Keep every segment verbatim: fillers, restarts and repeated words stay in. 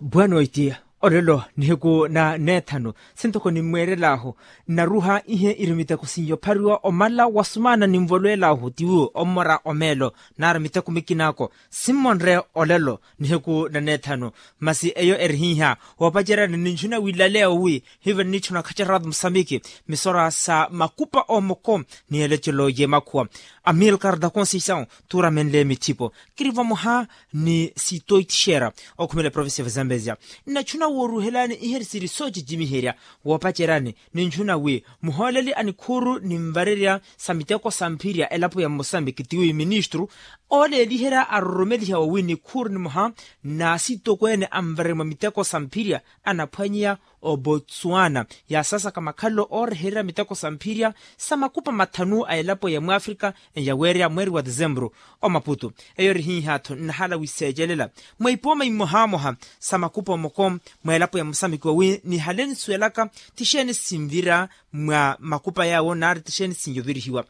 Bwanoiti, olelo nihiku na neethanu sintoko nimmweerel'ahu, nnaruha ihe iri miteko sinyophariwa omala wa sumaana ninvolweel'ahu tiwu ommora omeelo, naari miteko mikinako simmonre olelo nihiku na neethanu. Masi eyo eri hiiha, woopaceryani ninchuna wilaleya wowi hiive nnichuna khaceratu musamiki misora sa makupa omoko ni elecelo y'emakhuwa. Amilcar da conceição tuuramenle mithipo, kiri vamoha ni sitoitixera okhumela eprovincia va zambezia. Nnachuna wooruhelani ihe siri soocicimiherya woopaceryani ninchuna wi muhooleli a nikhuuru ninvarerya sa miteko sa mphirya elapo ya mosambiki tiwi ministru ooleeliherya aroromeliha wawi nikhuuru nimoha na sitokweene anvarerya mwa miteko sa mphirya anaphwanyeya obotswana yaasaasaka makhalelo oorehererya miteko sa mphirya sa makupa mathanu a elapo ya mwafrika eyaweerya mweeri wa desemburu. Omaputu eyo eri hiiha-tho nnahala wiseecelela mwa ipooma imohamoha sa makupa omoko mwa elapo ya mosamiki wawi nihale nsuwelaka tixeeni sinvira mwa makupa yaawo naari tixeeni sinyovirihiwa.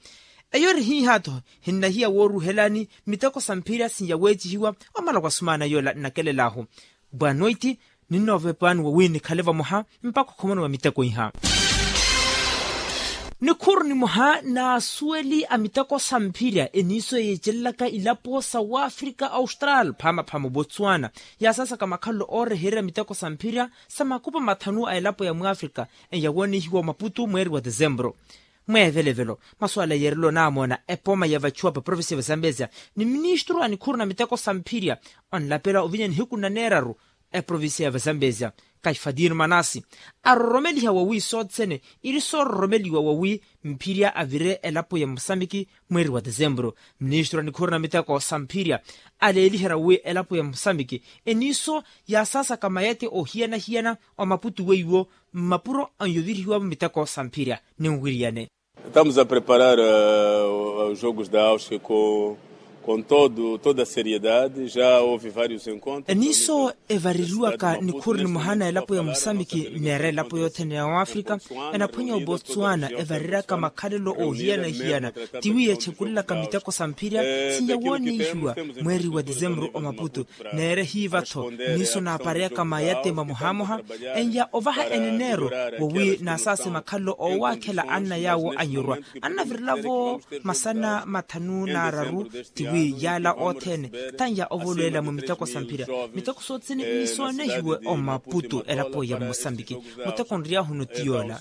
Eyo eri hiiha-tho hinnahiya wooruhelani miteko sa mphirya sinyaweecihiwa omala wa sumaana yoola nnakelel'ahu. Bwanoiti ninnoovepani wawi nikhale vamoha mpakha okhomoniwa miteko iha. Nikhuuru nimoha n'asuweli a miteko sa mphirya eniiso yeecelelaka ilapo sa wafrika austral phaamaphama obotswana yaasaasaka makhalelo oorehererya miteko sa mphirya sa makupa mathanu a elapo ya mwafrika eyawoonihiwa omaputu mweeri wa desemburu. Mweevelevelo masuwala yeerela onaamoona epooma ya vachuwa pa provincia va zambezia ni ministru a nikhuuru na miteko sa mphirya onlapela ovinya nihiku na neeraru eprovincia ya va zambezia kaifatino manasi aroromeliha wawi sothene iri soororomeliwa wawi mphirya avire elapo ya mosamiki mweeri wa desemburu. Ministru a nikhuuru na miteko sa mphirya aleeliherya wawi elapo ya mosamiki eniiso yaasaasaka mayate oohiyana-hiyana omaputu weiwo mmapuro anyovirihiwavo miteko sa mphirya. Ninwiriyane. Estamos a preparar os jogos da auske com toda a seriedade já houve vários encontros. Eniiso evareriwaka nikhuuru nimoha na elapo ya mosamiki neera elapo yothene ya wafrika enaphwanya obotswana evareryaka makhalelo oohiyana-hiyana tiwi yechekulelaka miteko sa mphirya sinyawoonihiwa mweeri wa desemburu omaputu. Neera ehiiva-tho niiso naapareyaka mayate mamohamoha eya ovaha eneneero wowi naasaase makhalelo oowaakhela anna yaawo anyorwa annavirelavo masana mathanu naararu tiwi yaala othene tanya ovolweela mwa miteko sa mphirya miteko sothene nisoonehiwe omaputu elapo ya mosambiki muteko nriyahunu ti yoola.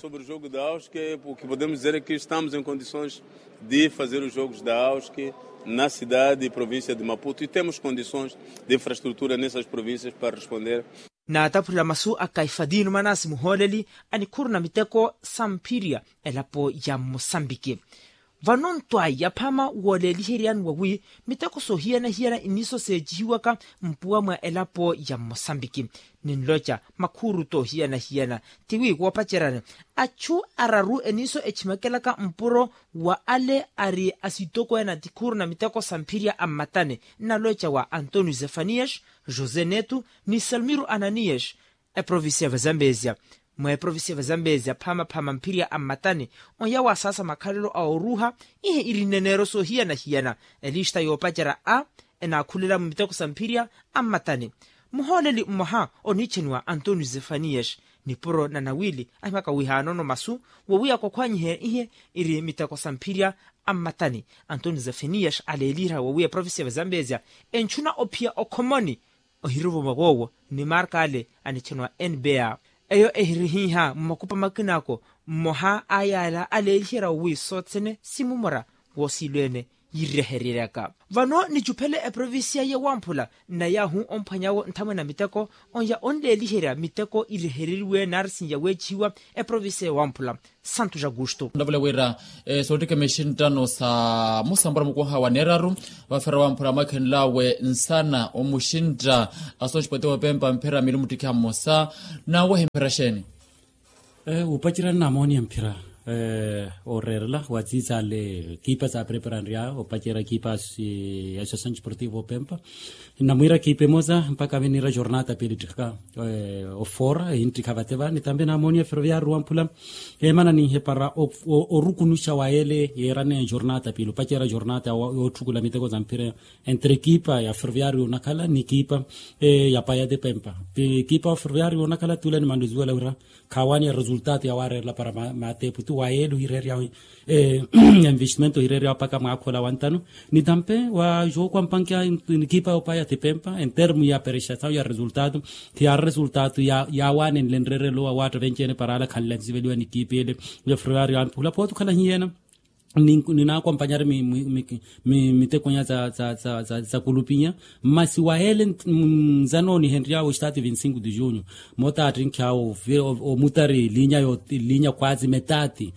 De fazer os jogos da auske na cidade e província de maputo e temos condições de infraestrutura nessas províncias para responder. Naataphula masu a kaifatino manasi muhooleli a nikhuuru na miteko sa mphirya elapo ya mosambiki. Vano ntwayi yaphama wooleeliheryani wawi miteko soohiyana-hiyana iniso seecihiwaka mpuwa mwa elapo ya mosambiki ninloca makhuuru toohiyana-hiyana tiwi woopaceryani achu araru eniso echimakelaka mpuro wa ale ari asitokweene a tikhuuru na miteko sa mphirya a mmatani nnaloca wa antonio zefanias josé neto ni salmiro ananias. Eprovincia va zambezia mwa eprovincia va zambezia phaamaphama mphirya a mmatani oya waasaasa makhalelo a oruuha ihe iri nneneero soohiyana-hiyana elista yoopacerya a enaakhulela mu miteko sa mphirya a mmatani. Muhooleli mmoha oniichaniwa antonio zefanias nipuro na nawiili ahimaka wihaanono masu wowiya kokhwanyihe ihe iri miteko sa mphirya a mmatani. Antonio zefanias aleeliherya wowiya eprovincia va zambezia entchuna ophiya okhomoni ohiruvo mwa woowo ni marka ale anitchaniwa nba. Eyo ehirihiiha mmakupa makinaako mmoha a yaala aleeliherya wowi sothene simumora woosiilweene yirehereryaka. Vano nicuphele eprovincia ya wamphula nnayahu omphwanyawo nthamwene a miteko onya onleeliherya miteko irehereriwe naari sinya weecihiwa eprovincia ya wamphula. Santos augusto. Ndavule wira soottikha mixinttano sa musampura mukuha wa neeraru vafera wamphura mwakhenlawe nsana omuxintta asooxipwete woopempa mphira miili muttikhiha mmosa. Nawehi mphira xeeni? Wuupacerya nnamooniya mphira. Ooreerela watsiitsaale ekipa saapreparanrya opacerya ekipa ya associasawn desportivo opempa. Namwiira ekipa emosa mpakha veniira jornata piili ttikha ofoora ehinttikha vate va nitambe namooniya ferroviario wamphula. Eemana ninhepara orukunuxa wa yeele yeerane jornata piili opacerya jornata yootthukula miteko sa mphira entre ekipa ya ferroviario onakhala ni ekipa ya payati pempa. Ekipa ya ferroviario onakhala tuulani manluzuwela wira khaawaani eresultato yawaareerela para maateepu tu wa yeele ohireerya envestimento ohireerya mpakha mwaakha ola wantano. Nitampe wa jooko ampankiya ekipa yoopaya ti pempa entermu ya perexasawu ya resultato khiyaari resultato yaawaanenle nreerelo wa waatta venci-ene para ala khanle ansiveliwa ni ekipa ele. Yofrewari yamphula pooti okhala hiyeena. Ninaakompanyari mitekonya sa kulupinya masi wa yeele nzanoonihenry'awe ostaati vinti cinco de junho. Moota aattinkhi awo omutari linya kwazi metaati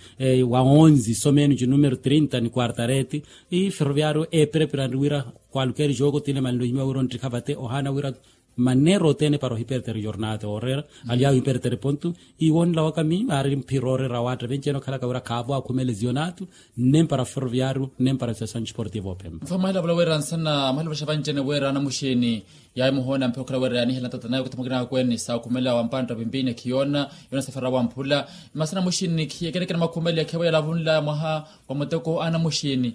wa onzi someeni ci numero trinta ni quartareti. Ferroviario eepereperanri wira kwalukeri jooko tile manlohimiwa wira onttikha vate ohaana wira maneera othene para ohipertere jornata ooreera. Ali awo ohipertere pontu iwo onilawaka miyo aari mphira ooreera awaatta venci-ene okhalaka wira khaavo akhumele zionatu. Nempara ferroviario nempara associasawn desportivo opempa. Mfamahela vula wira nsana mwahilavulaxa vanci-ene wira anamuxini yaayi muhoona mpira okhala wira yaanihelana tata naye okathamukina akweeni saakhumela wampantta pimpini khiyoona yoona safara wamphula. Masi anamuxini khiyekerekene makhumeli akhevo yalavunla mwaha wa muteko anamuxini.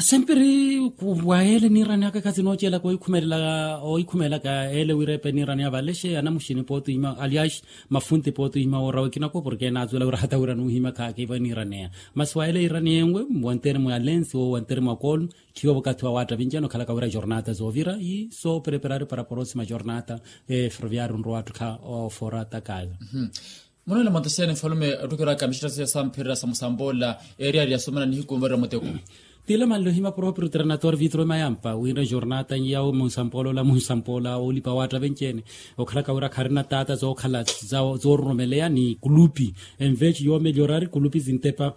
Sempiri wa yeele niiraneyaka khasi noocelaka oikhumelelaka oikhumelelaka yeele wira epe niiraneya valexe anamuxini pooti ohima aliaxi mafunti pooti ohima woorawa ekinako porke enaazuwela wira hata wira nuuhima khaakiivo eniiraneya. Masi wa yeele yiiraneyenwe wanteremu ya lensi wo wanteremu ya koolu khiivo vakathi wa waatta vinci-ene okhalaka wira jornata zoovira ii soopereperari para porosima jornata. Ferroviario nrowa attukha ofoora takaya. Munole monte xeeni nfalume ottukiwiraka mixittasya sa mphirira sa musamboola eeriyari yasumana nihiku nvarira muteko. Tile manlohima proprio trenator vitro mayampa wira jornata nyawo munsampola ola munsampola olipa waatta venci-ene okhalaka wira kharina taata zookhala zoororomeleya ni kulupi enveci yoomelhorari kulupi zintepa.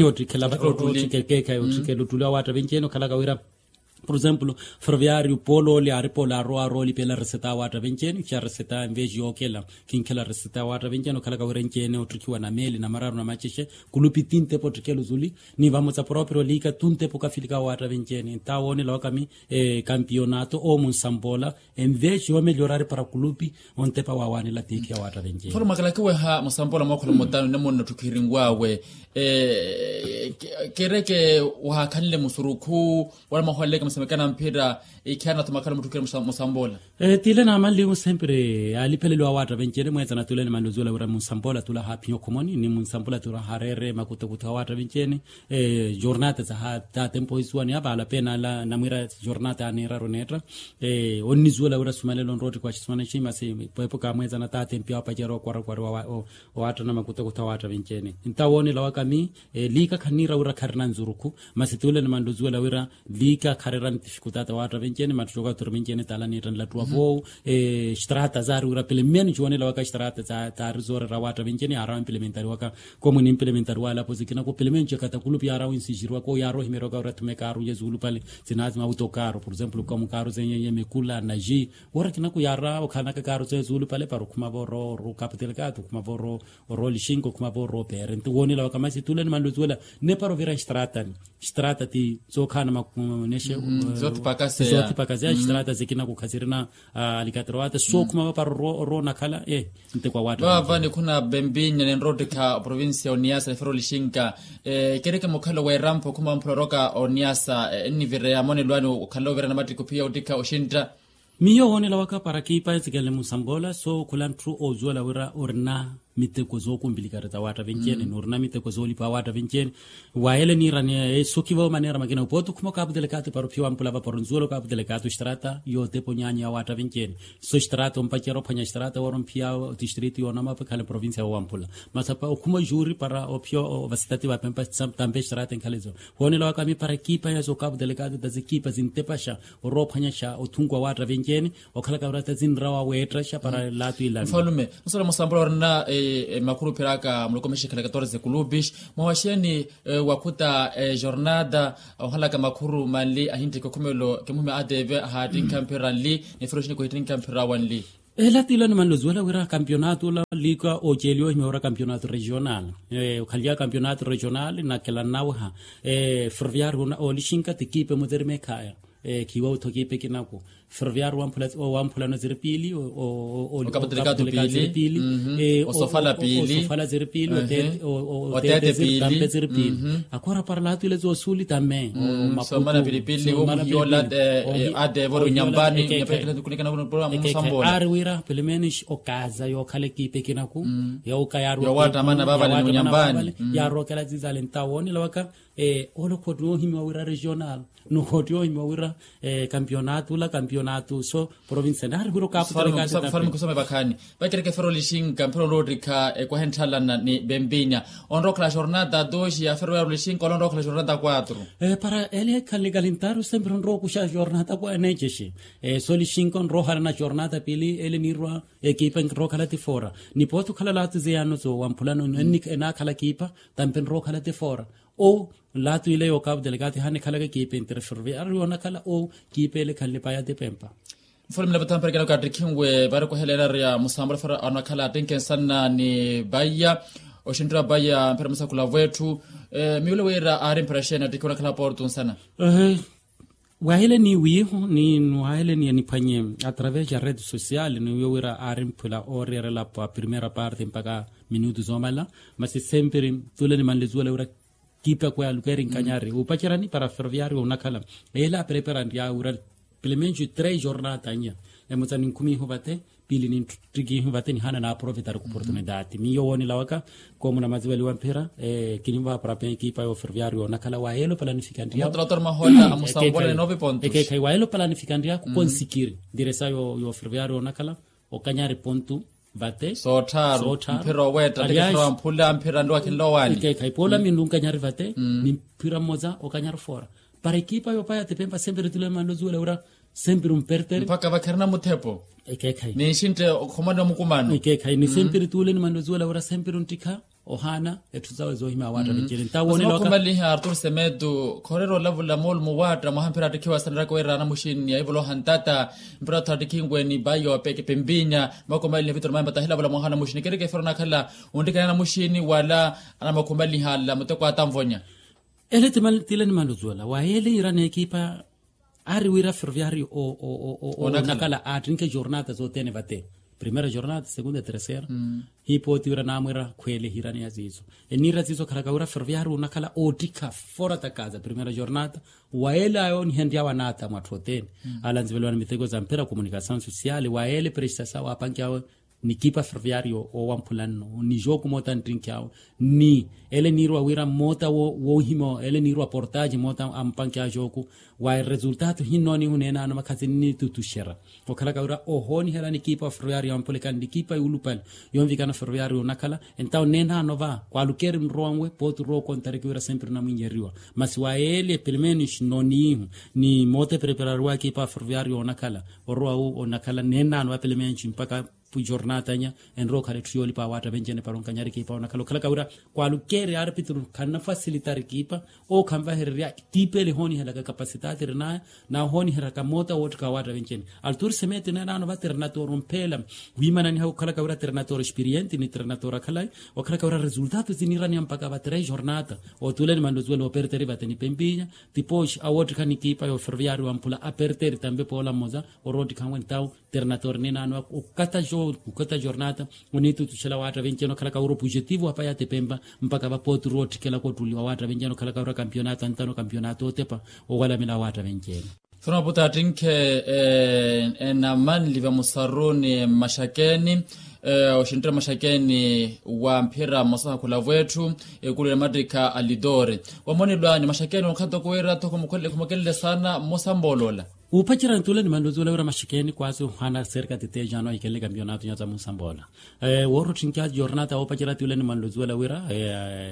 Ottikhela ottikhela ottuli awaatta venci-ene okhalaka wira por exemplo ferroviario poolo oli aari poolo arowa arowa olipela reseta awaatta venci-ene xa reseta enveci yookela. Kinkhela reseta awaatta venci-ene okhalaka wira enci-ene ottikhiwa na meeli na mararu na macixe kulupi tintepa ottikela ozuli. Ni vamotsa proprio liika tuntepa okafilika awaatta venci-ene ntawo onilawaka mi kampionato owo munsampola enveci yoomelhorari para kulupi. Ontepa waawanela tiikhi awaatta venci-ene. Mfano mwakalakiweha musamboola mookhola mutano nne munno ttukhirinwawe kereke wahaakhanle musurukhu wala mwahooleleke musamekana mphira ikhiana tho makhala muttukire musamboola. Tile naamanliwe sempiri alipheleliwa awaatta venci-ene mweetsana tule nimanluzuwela wira munsamboola tula haaphinya okhomoni ni munsamboola tula hareere makutakutha awaatta venci-ene. Jornata za tatempo isuwaniya vaala pena ala namwiira jornata aniiraru neetta. Onnizuwela wira sumalelo nroottikwa xisuwanaxi masi pwepo kaamweetsana tatempi awo apacerya okwarakwari owaattana makutakutha awaatta venci-ene ntawo onilawaka mi liika khanniira wira kharina nzurukhu. Masi tuule nimanluzuwela wira liika kharira ntifikutata awaatta venci-ene mattuxoka turi venci-ene tala niitta nilattuwa voowu. Xitrata zaari wira pilimeni ciwonelawaka xitrata taari zooreera awaatta venci-ene yaarawa mpilementariwaka. Komu nimpilementariwa alapo zikinako pilimeni ciakata kulupi yaarawa nsixiriwaka oyaara ohimeriwaka wira thumeka arunya zuulupale. Zinaazi mawuto kaaro por exemplo komu kaaro zenyenye mikula na ji wira kinaku yaara okhanaka kaaro zezuulupale para okhuma vooro oroo kaputelekatu okhuma vooro oroo lixinko okhuma vooro opeere nti woonelawaka masi tuule nimanluzuwela. Nepara ovira nxitratani nxitratati sookhaana makunexe. Zoothipakaseya nxitratati kinaku khasirina alikaterowata sookhuma vapara oroo onakhala. Nti kwa waatta vaava nikhuna bembinya ninroottikha oprovincia oniyasa nifera olixinka. Kereke mukhalo weerampha okhuma wamphula oroka oniyasa ennivireya monelwani okhala ovira namattikhu phiya ottikha oxintta. Miyo woonelawaka para kiipa ensikenle munsamboola sookhula ntthu oozuwela wira orina miteko zookumpilikari za waatta venci-ene ni orina miteko zoolipa waatta venci-ene. Wayele niiraneya esokiva omaneera makina opooti okhuma okaputelekatu para ophiya wampula vapara onzuwela okaputelekatu xitrata yootepa onyaanyu ya waatta venci-ene. So xitrata ompacerya ophwanya xitrata woora omphiya otistritu yoonama opekhale provincia yoowampula. Masi apa okhuma ojuuri para ophiya ovasitati vapempa tampe xitrata enkhale zo. Woonelawaka mi para ekipa ya sookaputelekatu ta zekipa zintepaxa oroophwanyaxa othunku awaatta venci-ene okhalaka wira tazinrawa weettaxa para laatu ilani. Mfalume nsola musambula orina makhuru ophiraka muloko mexekhala katorze kulupix mwawaxeni wakhuta jornada ohalaka makhuru manli ahinteke okhumelo kimuhime atv ahaattinkha mphira nli nifira oxini kuhittinkha mphira wanli. Ela tilo nimanluzuwela wira kampionato ola Liikwa oceeliwa ohimya wira kampionato regional. Okhalyaka kampionato regional nakela nnaweha. Ferroviario olixinka ti kiipe muterima ekhaya. Khiiwa witho kiipe kinaku. Ferroviario wamphulano ziri piili. Okapatilika ziri piili. Osofala piili. Oteete ziri piili. Akhora para laatu ile zoosuuli tamme. Soomana pilipili omuhiyola. Ate evoro nyambani. Aari wira pelo menos okaza yookhala ekiipa ekinaku. Yawaka yaarwa yaawaattamana vaavale ni munyambani. Yaarookela ziizale ntawo onilawaka. Ole okhottiwa ohimiwa wira regional nokhottiwa ohimiwa wira kampionato ula kampionato so provincia naari wira okaaputele kaatitaphe. Kusome vakhaani. Vacereke fero lixinka mphira onroottikha ekwaha entthalana ni vempinya. Onrookhala jornata doxi ya fero yaari lixinka ole onrookhala jornata quatro. Para ele ekhanle kalintaru sempre onrookuxa jornata quatro neecexe. So lixinka onroohalana jornata piili ele niirwa ekipa enrookhala ti fora. Nipooti okhala laatu zeyaano zowamphulano enaakhala kiipa tampe enrookhala ti fora. O laatu ile yookaaputele kaati hanikhalaka ekipa entre ferroviario yoonakhala o kiipa ele ekhanle paya ti pempa. Mfulume lapatha mperekela okaattikhinwe vaari okwahelera arya musambola fara anakhala attinke nsana ni vaya oxinttira vaya mphira musakhula vwetthu. Miwulo wira aari mphira xeeni attikhiwe onakhala porto nsana. Waahele ni wiihu ni waahele ni aniphwanye através ya rede social ni wiihu wira aari mphwila ooreerela pa primeira parte mpaka minutu zoomala. Masi sempre tule nimanle zuwela wira kiipa kwe alukeeri nkanyari upacerani para ferroviario onakhala. Ele aperepera nrya wira pelo menos três jornata nya emutsa ninkhumihu vate piili ninttikihu vate nihaana naaproveitari ku oportunidade miyo woonilawaka. Koomuna mazivaliwa mphira kininvaha para pe ekipa yo ferroviario onakhala waayelo palanifika nrya. Ekeekhayi waayelo palanifika nrya kukonsikiri ndiresa yo ferroviario onakhala. Okanyari pontu vate soottharu. Mphira oweetta tikettharu wamphula mphira nduwakhenle owaani. Ekeekhayi poola minru nkanyari vate ni mphira mmoza okanyari fora. Para ekipa yoopaya tipempa sempre tule nimanle ozuwela wira sempre ompertere mpakha vakharina muthepo. Ekeekhayi ninxintte okhomani omukumano. Ekeekhayi ni sempre tule nimanle ozuwela wira sempre onttikha ohaana etthu zawe zoohimya awaatta vincene ntawo onelowaka. Okhomaliha artur semetu khorera olavula moolumo waatta mwaha mphira attikhiwa sanaraka wira anamuxini aivoloha ntata. Mpira otho attikhinwe ni vayo peke pempinya. Makomaliha vitoro maempa tahilavula mwaha anamuxini kereke fero nakhala onttikana anamuxini wala anamakhomaliha ala muteko atanvonya. Ele tile nimanle ozuwela waayele yiira n'ekipa. Aari wira ferroviario onakhala aattinke jornata sothene vate primeira jornata segunda terceira. Hiipooti wira naamwira khweele hiiraneya ziizo. Eniira ziizo khalaka wira ferroviario onakhala oottikha fora takaza primeira jornata. Wayeele ayoonihenryawe anaata mwatthu othene alanziveliwa ni miteko za mphira comunicasaw sosiale wayeele presta sawe apankiyawe. Nikipa ferroviario owamphula nno ni jooku moota nttinkhi awe ni ele niirwa wira moota woohima ele niirwa portaji moota ampanki awe jooku. Wa resultado hinnoonihu neenaano makhazi nnitutuxera okhalaka wira ohoonihela nikipa ferroviario amphulekani nikipa yuulupale. Yonvikana ferroviario onakhala entawo neenaano va kwalukeeri nrowanwe pooti rookontareke wira sempre namwinnyeriwa. Masi wa ele pelo menos nnoonihu ni moota epereperariwa ekipa ferroviario onakhala orowa wu onakhala neenaano va pelo menos mpaka jornata nya enrowa okhala etthu yoolipa awaatta vencene para onkanyari ekipa onakhala okhalaka wira kwalukeeri arpitru khannafasilitari ekipa. Ookhanvahererya tiipele ehooniheraka kapasitati erinaya nahooniheraka moota woottikha awaatta vencene. Alturi semeti neenaano va terinatoro mpheela wiimananiha okhalaka wira terinatoro experiente ni terinatoro akhalayi okhalaka wira resultado ziniiraneya mpaka va tres jornata. Otuule nimanle ozuwela operteri vate ni pempinya tipoxi awoottikha nikipa yo ferroviario wamphula aperteri tampe poola mmoza oroottikhanwe ntawo. Terinatore neenaano okata jornata onitutuxela awaatta vencene okhalaka wira opujetivo apaya atepempa mpaka vapooti roottikelaka ottuli wawaatta vencene okhalaka wira kampionato antano kampionato otepa owalamela awaatta vencene. Sona puta attinkhe enamanli vamusaruni mmaxakeni oxintira mmaxakeni wa mphira mmosa khakhula vwetthu. Ekulwela mattikha a lidore wamonelwani mmaxakeni onkhatoko wira tho khumukelele sana mmosa mboolola. Wuupacerya ntuula nimanle ozuwela wira maxekeeni kwaasi ohaana serka titeja ano ahikelele kampionato nyaza munsamboola. Woorottinkya jornata woopacerya tiwula nimanle ozuwela wira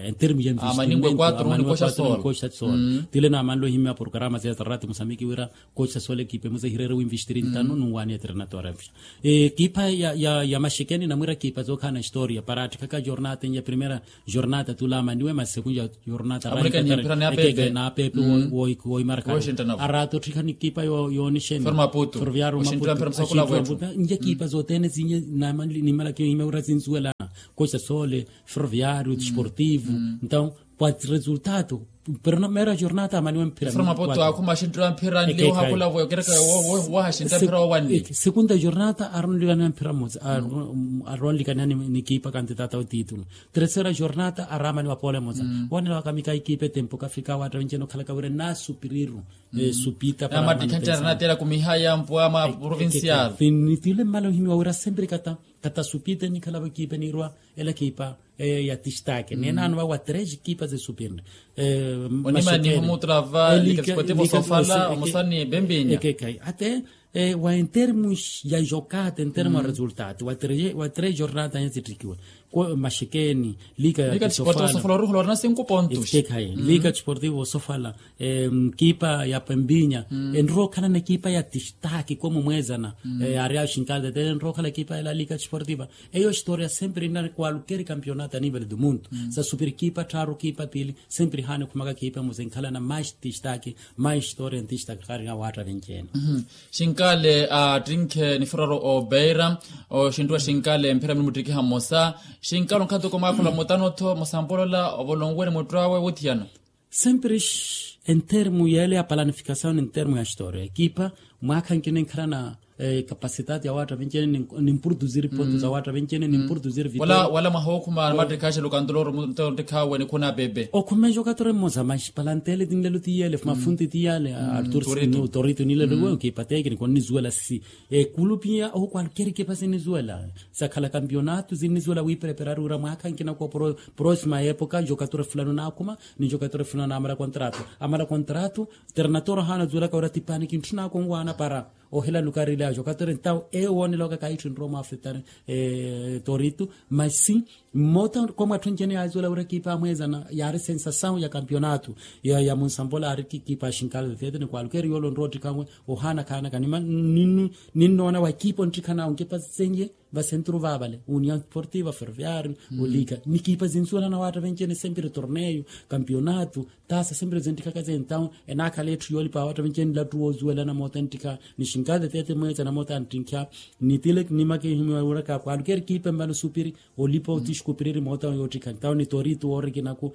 entermu ya investimento amaningwe quatro nikoxa sol. Tiwula namanle ohimya programa za zarati musamiki wira koxa sol ekipe muza hireere winvestiri ntano nunwaani ya trinatora. Ekipa ya maxekeeni namwira ekipa zookhaana historia para attikhaka jornata ya primera jornata tula amaniwe masi sekunja. Jornata raiekeke naapepe woimarakha araata otthikha nikipa yoonixeni. Ferroviario maputo nje ekipa zothene zinye nimalaki ohimya wira zinsuwelana. Koca sole, ferroviario, desportivo. Entaw, pwa resultado, pero na mera jornata amaniwe mphira. Mphira mapoto akhuma axinttira mphira nliwo hakula voyo kereka waha axinttira mphira wawanni. Segunda jornata aronlikaniwa mphira mmosa. Aronlikaniwa ni kipa kantitata otitulu. Tercera jornata aramaniwa pole mmosa. Wanela wakamika ikipa etempo kafika watta venjeno khalaka wira nasupiriru. Supita para manutensa. Amatikhancarana tela kumihaya mpwa ma provincial. Nitile mmala ohimiwa wira sempre kata kata supita nikhalavo ekipa nirwa ela ekipa ya tistake nenano vawa tres ekipa zesupinre. Onimaniho mutrava lika sportivo sofala omosani bembinya. Ekekhayi ate wa entermos ya jokata entermo ya resultado wa tres jornata nya zittikiwe. Maxekeni lika ya sportivo sofala oruhula orina cinco pontos. Ekekhayi lika sportivo sofala ekipa ya pembinya enrookhalana ekipa ya tistake komo mwezana. Ari axinkalde tele enrookhala ekipa ela lika sportiva. Eyo historia sempre inari kwalukeri campeonato a nivel do mundo. Sasupiri kipa tharu kipa pili sempre hane khumaka kipa muze nkhalana mais tistake mais historia ntistake khari nga watta venjeno. Xinkale attinkhe nifuraro obeira oxintuwa xinkale mphira mini muttikiha mmosa. Xinkale onkhantuko mwakhula mutano-tho musampolola ovolonwene muttu awe wuthiyana. Sempre entermo yele ya planificasaw ni entermo ya historia ekipa mwaakha nkina enkhalana capacidade ya watta venjene ni mpurtuziri ponto za watta venjene ni mpurtuziri vitoria. Wala mahokhuma mattikhaxe lukantuloro muttikhawe nikhuna bebe. Okhumeja okatora mmosa mas palantele tinlelo tiyele mafunti tiyale. Torito nilelo wewe kipa tekniko nnizuwela si ekulupiya ohukwalukeri kipa sinnizuwela sakhala kampionato sinnizuwela wipereperari wira mwaakha nkina ko prosima epoka njokatora fulano naakhuma ni njokatora fulano naamala kontrato amala kontrato. Ternator hana zuwelaka wira tipani kintthuna konwana para ohela lukari ilajo katori ntawo ewo wonela waka kaitthu nrowa mwa afritan. Toritu masi mmota komwatthu ncene yaazuwela wira ekipa amwezana yaari sensasawu ya kampionato ya munsambola aari ekipa ya xinkala tete ni kwalukeri yoolo nrowa ottikhanwe ohaana khaanaka ninnoona wa ekipa onttikhanawo nkipa zenye vasenturu vaavale union sportiva ferroviario olika nikipa zinsuwelana watta venjene sempre torneio kampionato. Tasa sempre zenttikhaka zentawo enaakhala etthu yoolipa watta venjene nlattu woozuwelana moota nttikha ni xinkale tete mweeza na moota nttikha. Nitile nima kihimiwa wira kakwalukeri kipe mbano supiri olipa otixkupiriri moota yoottikha ntawo ni toritu woorikinaku.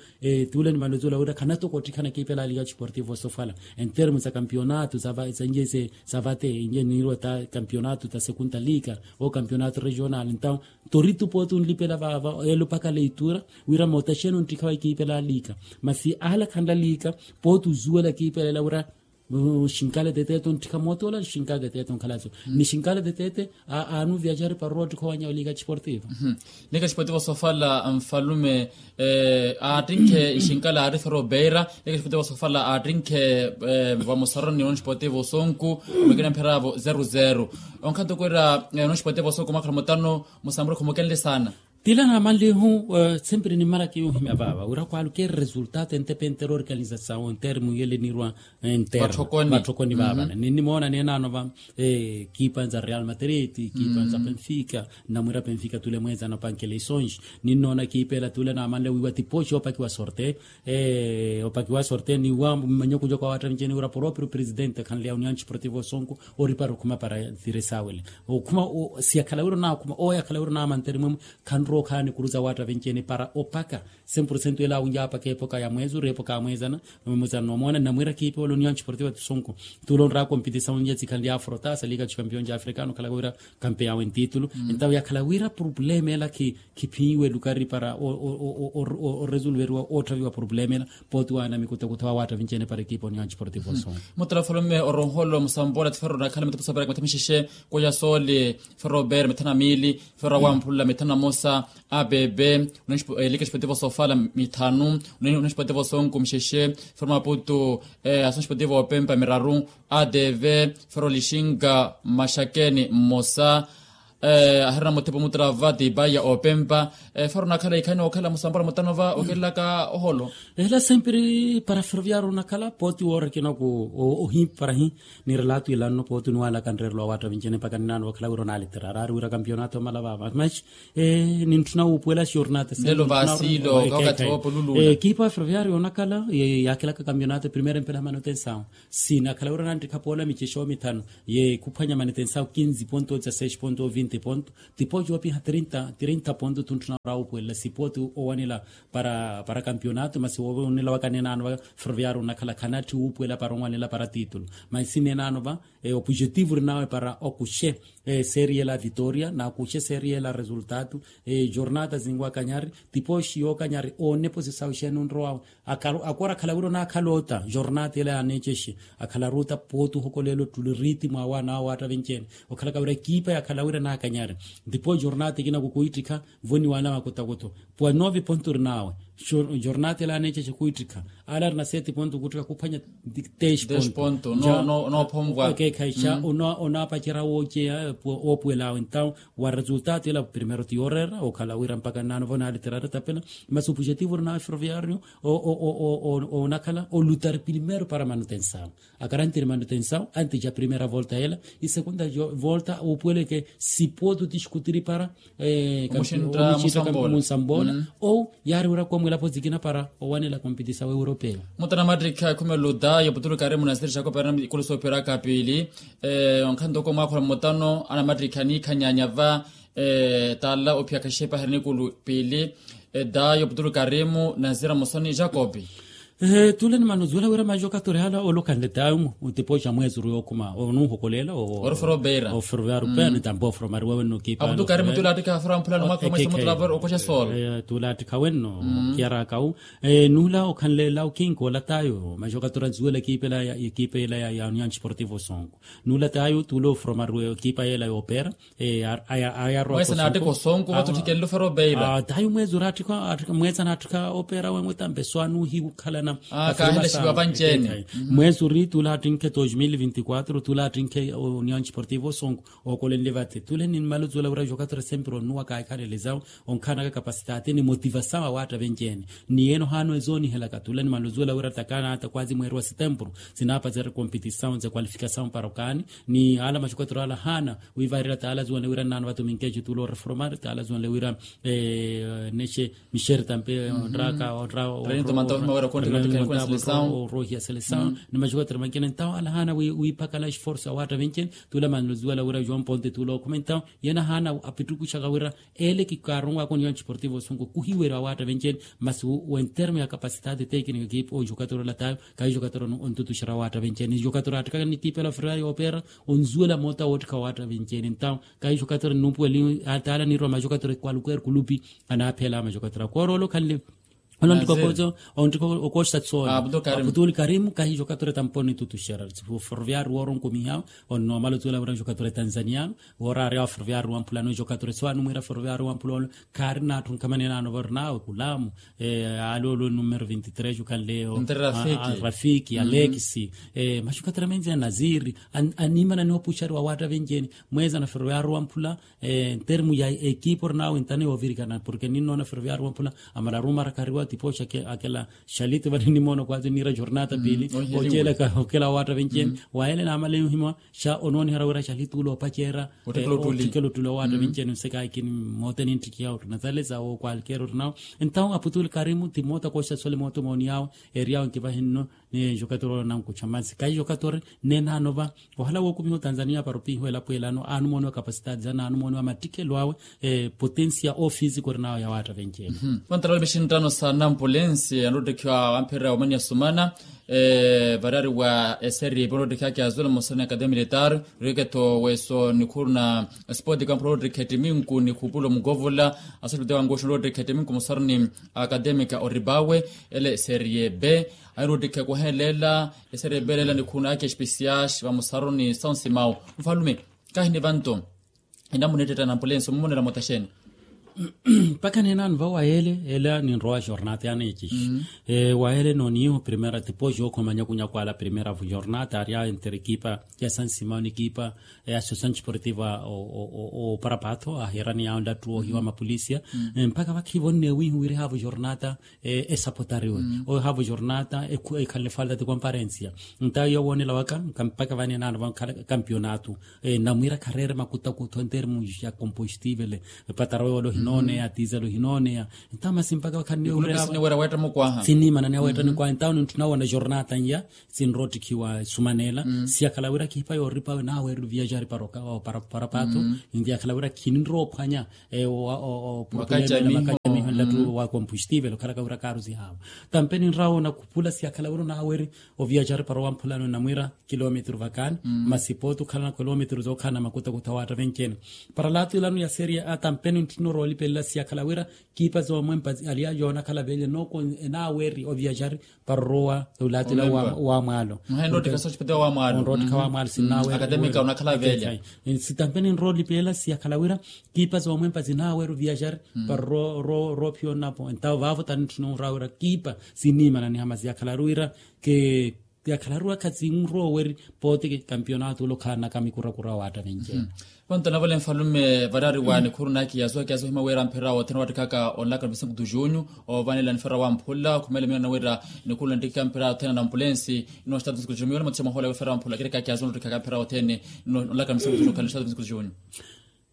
Tule ni mbano zuwela wira khanatoka ottikhana kipe laali ya sportivo sofala entermo za kampionato za nje se savate inje nirwa ta kampionato ta segunda liga o kampionato regional ntawo. Toritu pooti onlipela vaava elopaka leitura wira moota xeeni onttikhawa ekiipela liga masi ahala khanla liga. Pooti ozuwela ekiipela ela wira xinkale tetete onttikha moota ola xinkale tetete onkhalatso ni xinkale tetete. Aanu viaxari para oottikha owanya oliga sportivo. Liga sportivo sofala nfalume aattinkhe ixinkala aari fero beira. Leke xipotivo sofala aattinkhe vamusaroni onixipotivo sonku. Omekina mpheravo zeru zeru. Onkhanto kwira onixipotivo sonku mwakhala mutano musampuro khumukenle saana. Tila namanlihu sempre nimmala kiuhimya vaava wira kwalukeri resultado entepe entera organizasawo entere muyele nirwa. Entera vatthokoni vaavana ninnimoona neenaano va ekipa nza real madrid ekipa nza benfica. Nnamwira benfica tule mweezana opankela isonji ninnoona ekipa ela tule naamanle wiiwa tipoxi opakiwa sorte. Opakiwa sorte niwa mmanyokunyoka wa watta miceni wira proprio presidente khanleya union desportivo sonku oripara okhuma para tire saawele. Okhuma siyakhala wira onaakhuma oya akhala wira onaamantere mwemwe. Khanrookhaani kuruza watta vencene para opaka cem porcento ela awunja apaka epoka ya mweezi ori epoka ya mweezana. Nomweza nomoona namwira kiipe wala onion desportivo ti sonko. Tula onraka ompitisa onja tsikhanle ya frotasa liga ti campeon ja africano khalaka wira kampe yawe ntitulu. Entawo yakhala wira problema ela khiphiiwe lukari para oresolveriwa otthaviwa problema ela. Pooti waana mikutakutha wa watta vencene para ekipa onion desportivo sonko. Mutala falume oronholo musambola tifero nakhala mitapusa para kimatha mixexe. Koya soole fero beira mithanu na miili. Fero awamphula mithanu na mosa. Abebe. Liga desportivo sofala mithanu. Liga desportivo sonko mixexe. Fero maputu. Ason desportivo opempa miraru. Adv. Fero lixinga maxakeni mmosa. Ahirina muthipo mutrava tipa ya opempa. Fero nakhala ikhani okhala musambola mutano va okelelaka oholo. Ela sempre para ferroviario nakhala pooti woorikina ku ohi para hi. Ni relato ilanno pooti niwalaka nrerelo wa watta vencene mpaka ninaano vakhala wira onalitera araari wira campeonato omala vava mas nintthuna wuupuwela xornata. Lelo vasilo ka wakathi woopululula. Ekipa ferroviario onakhala yakhilaka campeonato primera empela manutensawo. Sinakhala wira onanttikha poola micexo mithanu. Ye khuphwanya manutensawo kinzi ponto dezasseis ponto vinti. ponto. Tipooti yoopiha trinta ponto tuntthu na ora wuupuwelela sipooti owanela para para kampionato masi woowonela waka nenaano va ferroviario onakhala khanatthi wuupuwela para onwanela para titulo. Masi nenaano va opujetivo orinawe para okuxe serie ela vitoria na okuxe serie ela resultado. Jornata zinwakanyari tipooti yookanyari onepo sisawu xeeni onrowawe. Akora akhala wira onaakhala ota jornata ela yaneecexe. Akhala ruta pooti ohokolela ottuli ritimu awe anaawe waatta venci-ene okhalaka wira ekipa yakhala wira naakanyari. Ndipo jornata ekina kukwiittikha voniwana makotakoto puwa nove ponto orinawe. Jornata ela yaneecexe kwiittikha ala arina sete ponto kwiittikha kuphwanya dez ponto. Okeekhayi xa onaapacerya wooceya woopuwela awe entawu wa resultado ela primero ti yooreera okhala wira mpakha nnaano vo naaliteraari tapela. Masi opujetivo orinawe ferroviario onakhala olutari primero para manutensawu. Akari antiri manutensawu antixa primera volta ela isegunda volta wuupuweleke sipooti otixikutiri para omuxintta munsamboola. Ou yaari wira koomwelapo zikina para owanela kompetisawu europeu. Mutana mattikha ekhumelo dayo putuluka arimu na sirixaka operana ikulu sooperaka piili. Onkhanto oko mwaakhula mmutano anamattikha aniikhanyanya va taala ophiyakha xepaherya nikulu piili. Dayo putuluka arimu na sira musoni jakobi. Tule ni mano zuwela wira majokatori hala olokhanle dayo mu tipoxa mwezi ori yookhuma onuuhokolela oferoviario pena ni tampo oferomariwa wenno kipa aputukarimu tule attikha afera mphulano mwakha mwezi mutula vori okoxa soola. Tule attikha wenno kiyarakawu nula okhanleela okinkola tayo majokatori anzuwela ekipa ela ekipa ela ya union sportivo sonko. Nula tayo tule oforomariwa ekipa yela yoopera. Mwesa naattikha osonko vatthu otthikenle oferoviario. Tayo mwezi ori attikha mwezi anaattikha opera wemwe tampe so anuuhiwukhalana. Kaahelexiwa vanci-ene. Mwezi ori tule attinkhe dos mil vinti quatro tule attinkhe union sportivo sonko. Ookolenle vathi tule ni mmala ozuwela wira jokatori sempre onuwa kaahikhalele zawo. Onkhanaka kapasitati ni motivasawu awaatta venci-ene. Ni yeene ohaana ezoonihelaka tule ni mmala ozuwela wira takana ata kwazi mweeri wa setempuru sinaapacerya kompetisawu nze kwalifikasawu para okaani. Ni ala majokatori ala ahaana wiivarela taala azuwanle wira nnaano vatuminkexe tule oreforomari taala azuwanle wira nexe mixeri tampe onraka onra oroohiya selesawu. Ni majokatori mankina entawu ala ahaana wiipakala esforsu awaatta venci-ene. Tule manluzuwela wira joão ponte tule okhuma entawu yeene ahaana apittukuxaka wira ele kikaaronwaka onion sportivo osunku kuhiweriwa awaatta venci-ene. Masi wentermo ya kapasitati tekiniko ekipa ojokatori olatayo kahijokatori ontutuxera awaatta venci-ene jokatori attikaka ni tiipela ofirira yoopera. Onzuwela moota woottikha awaatta venci-ene entawu kahijokatori nnuupuweli taala niirwa majokatori kwalukweeri kulupi. Anaaphela majokatori akooroola okhanle ononttiko kozo onttiko okooxisa tsoola. Aputuli karimu kahijokatori tampo nitutuxera. Ferroviario woora onkumihawe onnoomala otuwela wira jokatori tanzaniano woora aari awo ferroviario wamphulano jokatori so anumwiira ferroviario wamphulano. Khaari naatthu nkhamanenano vorinawe kulamu. Aloolo numero vinti tres okhanleyo rafiki alekisi. Maxukatere menzi ya naziri animana ni opuxariwa waatta venci-ene. Mweza na ferroviario wamphula ntermu ya ekipa orinawe ntana yoovirikana porke ninnoona ferroviario wamphula amala arumarakariwa tipoxa akela xaliti vale nimoona kwazi niira jornata piili. Ocelaka okela waatta venci-ene waele naamale yohima xa onoonihara wira xaliti ula opacerya ottikela otule waatta venci-ene nsekaikini. Moota ninttikiya ottunathalesa wo kwalkeera orinawe. Entawu aputuli karimu ti moota kooxisa sole moota mooniyawe. Eriyawe nkivahinno ni jokatori ola nankuxa mansi kahi jokatori neenaano va ohala wookumiha otanzania para opihiwa elapo elano anumooniwa kapasitati zana anumooniwa mattikelo awe. Potensia ofisi korinawe yawaatta venci-ene. Vantaralo vixinttano sa nampulensi anottikhiwa wamphirira wamaniya sumana. Variyari wa eseri polotikhi ake azula mosoni academia militar riketho weso nikhuru na sport kampula ottikha ettiminku ni khupulo mukovola. Asolipite wankuxu nottikha ettiminku mosaroni academia oribawe ele serie b. Ahiru ottikha kuhelela eserie b elela nikhuru na ake especial vamosaroni saunsimau. Mfalume kahini vanto enamuna ettetta na ampulensi omumonela motaxeni. Mpakha neenaano va wayele ela ninrowa jornata yaneecixi. Wayele nooniiho primera tipoxi yookhoma nyakunyaku ala primera jornata ari awo entre ekipa ya sansimao ni ekipa ya associasaon desportiva oparapaatho ahiirani yawo nlattu oohiwa mapolisia. Mpakha vakhivo nneewiiho wira ehaavo jornata esapotariwe ohaavo jornata ekhanle falta ti komparensia. Ntayo yowoonela waka mpakha vaneenaano vankhala kampionato. Namwiira khareere makutakutho entermu ya kompostivele patarawe wala Nooneya tiizalo hinooneya. Entawo masi mpakha wakhanniwe wira sinimananiya weetta nikwaha entawo nintthuna woona jornata n'iya sinroottikhiwa esumanela siyakhala wira khiipa yooripa naweerelo viajari para pato. Niyakhala wira khinrowa ophwanya opurupulema makacamiho nlattu wa kompustivel okhalaka wira kaaru sihaawa. Tampe ninrawa onakhupula siyakhala wira onaweeri oviajari para owamphulano namwiira kilometru vakani masi pooti okhalana kilometru zookhalana makutakutha waatta venci-ene. Para laatu ilano ya seria a tampe nintthuna oroolipelela siyakhala wira kiipa zoomwempa aliya yoonakhala vele nooko enaweeri oviajari para orowa olaatila wa mwaalo. Onroottikha wa mwaalo sinnaweeri. Sitampeni nroolipelela siyakhala wira kiipa zoomwempa sinnaweeri oviajari para oroophiya onapo entawo vaavo tanintthuna onrawa wira kiipa sinnimananiha masi yakhalaru wira ke yakhalaru wira khasinrowa weri pooti kampionato ole okhalanaka mikurakura waatta venci-ene. Vanto navole nfalume varari wa nikhuru nakiyasu akiyasu ohima wira mphira othene wattikhaka onlaka visinkutu junyu ovanela nifera wamphula khumela miyo nawira nikhuru nanttikhaka mphira othene na ampulensi ino statu visinkutu junyu miyo namatixa mwahola wifera wamphula kireka akiyasu nottikhaka mphira othene ino onlaka visinkutu junyu khale statu visinkutu junyu.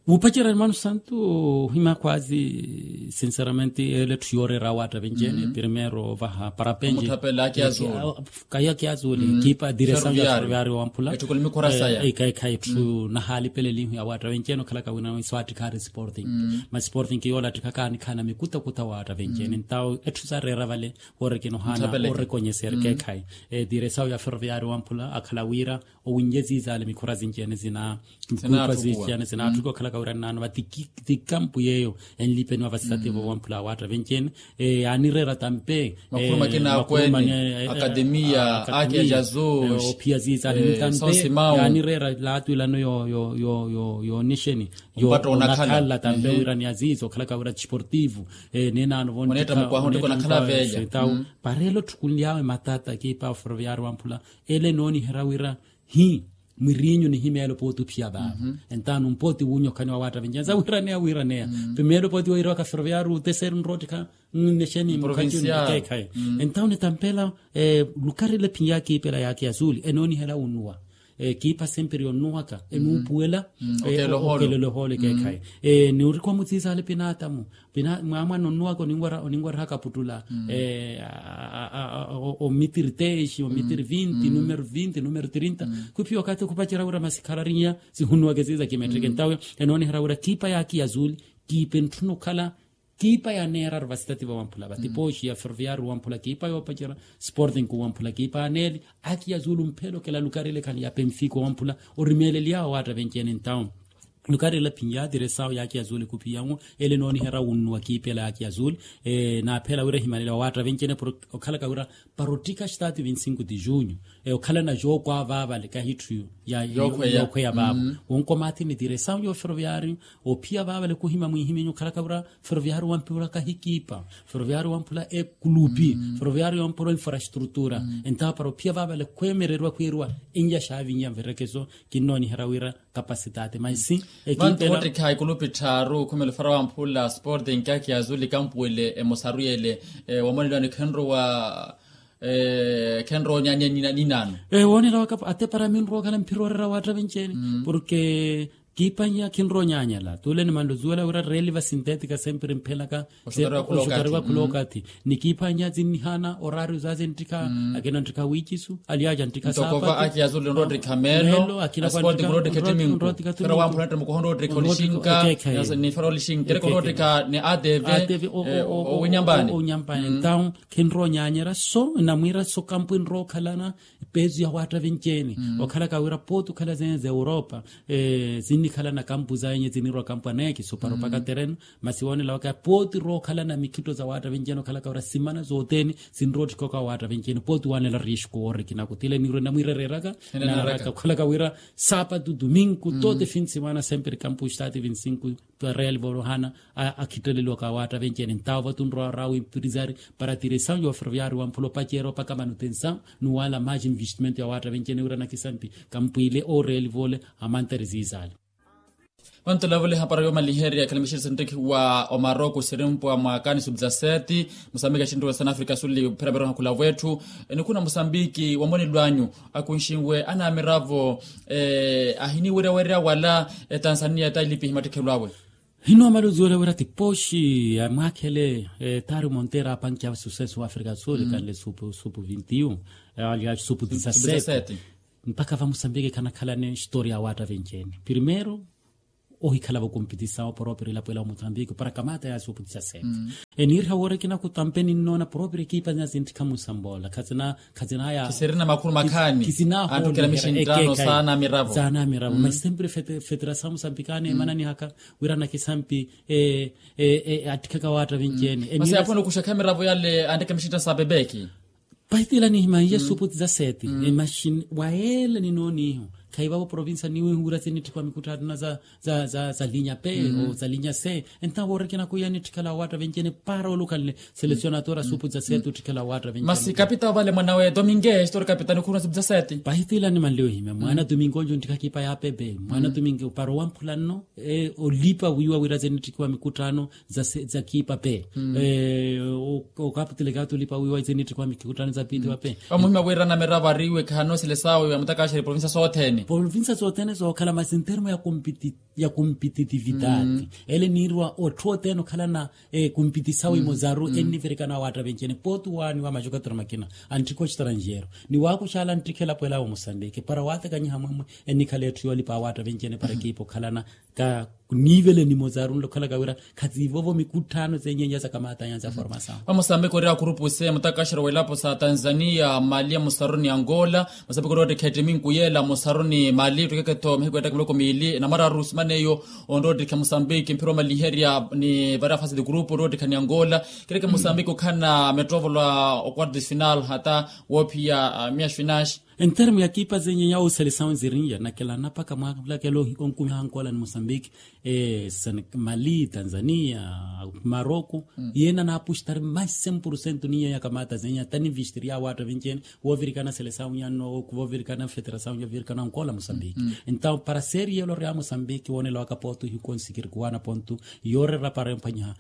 Wuupacerya hermano santu ohima kwazi sinceramente ele etthu yooreera awaatta venci-ene primero vaha parapenci kahi akiyazuli kiipa diresawu ya ferroviario wamphula. Ekhayi etthu nahaalipelelihu ya waatta venci-ene okhalaka wina iswaattikhaari sporting ma sporting kiyoolattikhaka anikhaana mikutakutha waatta venci-ene entawo etthu sareera vale. Orekina ohaana orekonyeseri kekhayi diresawu ya ferroviario wamphula akhala wira owinye ziizale mikhura zinci-ene zina mikupa zinci-ene zinaattuka okhalaka wira nnaano vati ti kampu yeeyo enlipeniwa vasitativo wamphula awaatta venci-ene yaanireera tampe makhuru makina akwene akademiya ake jazu ophiya ziizale nitampe yaanireera laatu ilano yoonexeni yoonakhala tampe wira ni aziizo okhalaka wira tisportivo ninaano vonttamu kwaha onttiko onakhala veya. Para ele otthukunly'awe matata kiipa ferroviario wamphula ele enooniherya wira hi mwiriinyu nihimeelo pooti ophiya vaavo entawo numpooti wuunyokhaniwa waatta venci-ene sa wiraneya wiraneya pimeelo pooti weirawaka ferroviario oteseeri nroottikha nnexeni mukhaci onikeekhayi entawo nitampela lukari ele phinyakiipela yaakiyazuli enooniherya wunnuwa kiipa sempiri yonnuwaka enuupuwela okelela ohoole keekhayi niwurikwa mutsiisaale pinaatamu mwamwana onnuwaka oninwarihaka aputtula omitiri teenxi omitiri vinti numeru vinti numeru tirinta khuphiya okathi okhupacerya wira masikhalarinya sihunnuwaka esiisa kimetteke entawe enooniherya wira kiipa yaakiyazuli kiipa entthuna okhala kiipa yaneeraru vasitativo wamphula vati pooxi ya ferroviario wamphula kiipa yoopacerya sporting kuwamphula kiipa aneeli akiya zulu mphelo kela lukari ele khani ya penfico wamphula orimeeleliy'awe waatta venci-ene entawo lukari ele phinyaatire sawo yakiya zulu ekhupiyanwo ele enooniherya wunnuwa kiipa ela yakiya zulu naaphela wira ehimalela wa waatta venci-ene okhalaka wira para ottikha statu vinti cinco de junho okhalana jooko avaavale kahitthu yookhweya vaavo wonkomathi ni diresawu yo ferroviario ophiya vaavale khuhima mwihiminyu okhalaka wira ferroviario wamphula kahikiipa ferroviario wamphula ekulupi ferroviario wamphula infrastrutura entawo para ophiya vaavale khweemereriwa khwiiriwa enyaxaavinyi ya nverekeso kinnooniherya wira kapasitaati maisi ekiipela vantu wootikha ekulupi tthaaru khumela ofera wamphula sporting kakiya zulu ekampu ele emosaru yele wamoneliwani khenrowa khenrowa onyaanya ninaano woonela waka ate para minrowa okhala mphira oreera waatta venci-ene porke kiiphanya khinrowa onyaanyala tuule ni manluzuwela wira reeli va sintetika sempiri mphelaka oxutariwa khula okathi ni kiiphanya zinnihaana orario za zinttikha akina nttikha wiicisu aliaja nttikha saapatu akiyazuli onroottikha meelo aspoti nroottikha ettiminku fera wamphula nttimukoho nroottikha olixinka nifera olixinka kereke onroottikha ni atv owinyampani entawo khinrowa onyaanyerya so namwiira so kampu enrowa okhalana peezu ya waatta venci-ene okhalaka wira pooti okhala zene za europa zinnikhala na kampu zaenye zinirwa kampu aneeki supara opaka tereno masi woonela waka pooti rookhala na mikhitto za waatta venci-ene okhalaka wira simana zothene sinroottikha oka waatta venci-ene pooti waanela riesco woorikina kutile nirwe namwiira ereeraka enanaraka okhalaka wira saapatu domingo tote fin simana sempiri kampu stati vinti cinco real volohana akhitteleliwaka awaatta venci-ene entawo vatunrowa rawi mpirizari para tiresawu yo ferroviario wamphula opaceera opaka manutensawu nuwaala maji investimento ya waatta venci-ene wira nakisampi kampwiile oreeli voole amantere ziizaale vantu olavule hapara yoomaliherya ekhala mixirisa nttekhi wa omaroko sirimpwa mwaakani sub dezasete musambiki axintuwa san africa suli phera veroha khulavu etthu enikhuna musambiki wamonelo anyu akunxinwe anamiravo ahiniweryawerya wala etanzania etailipihi mattikhelo awe Ninoomala oziwela wira ti poxi ya mwaakhele, taari monteira apankiya sucesso wa africa do sul ekanle supu supu vinti un, aliya supu disasete. Mpakha va musambiki khanakhalane historia ya waatta venci-ene primeiro, ohikhala vakompitisawo poropiro ilapo ela wa musambiki para kamata ya supu disasete. Eniiriha woorekina kutampe ninnoona poropiro ekipa zina zintthikha musamboola khazina khazina ya. Kisirina makhulu makhaani. Kisinahooleherya ekeka saana miravo. Saana miravo mas sempre federasawu musambiki aneemananihaka wira nakisampi attikhaka waatta venci-ene. Masi aphuna okuxakha miravo yale antteke maxinttano sa bebeki. Pahitila nihimaiye supu disasete. Maxini wa yeela ninooniiho. Khayi vavo provincia niwihu wira sinitthikhiwa mikutthano za za za linya pe o za linya se. Entawo woorekina khuya nitthikhala waatta venci-ene para olukhanle selecionatora supu disasete otthikhala waatta venci-ene. Masi kapitao vale mwanawe domingo estori kapitao nikhuruna supu disasete. Pahitila nimanle ohimya mwaana domingo onjo ntthikha kipa ya pepe mwaana domingo para owamphula nno olipa wiiwa wira sinitthikhiwa mikutthano za kiipa pe. Okaputelekati olipa wiiwa sinitthikhiwa mikutthano za piitiwa pe. Vamuhimya wira namiravo ariiwe khano selesawu ya mutakaxeri provincia sothene. Provincia sothene sookhala masi ntermo ya competitividade ele niiriwa otthu othene okhalana competisawu imozaru enivirikana waatta venci-ene pooti waaniwa maxukatura makina antthikha oxtranjero ni waakuxala antthikha elapo ela wa musambiki para waatekanyiha mwemwe enikhala etthu yoolipa waatta venci-ene para ekipa okhalana ka niivele nimozaru nlokhalaka wira khaziivovo mikutthano zenyenya za kamatanya za formasawu. Vamusambiki ori akhurupu se mutakaxero welapo sa tanzania mali ya musaruni angola. Musambiki ori ottikha ettiminku yeela musaruni mali ottikeke-tho mihiku ettaka miloko miili namararu simana eyo. Onroottikha musambiki mphira omaliherya ni vari afasi di grupu onroottikha ni angola. Kireke musambiki okhana mettoovolo a oquarto de final hata woophiya miya xfinaxi. Entermo ya kipa zenyenya ooselesawu nzirinya nakelana paka mwaka mulakelo onkumiha ankola ni musambiki mali tanzania maroko. Yena naapuxitari mais cem por cento ninya ya kamata zenyenya tani vistiri ya waatta venci-ene. Woovirikana selesawu nyanno woovirikana federasawu nyanno woovirikana ankola musambiki. Entawo para seri yelo ri ya musambiki woonela waka ponto hikonsikiri kuwaana ponto yoorera para empanyiha.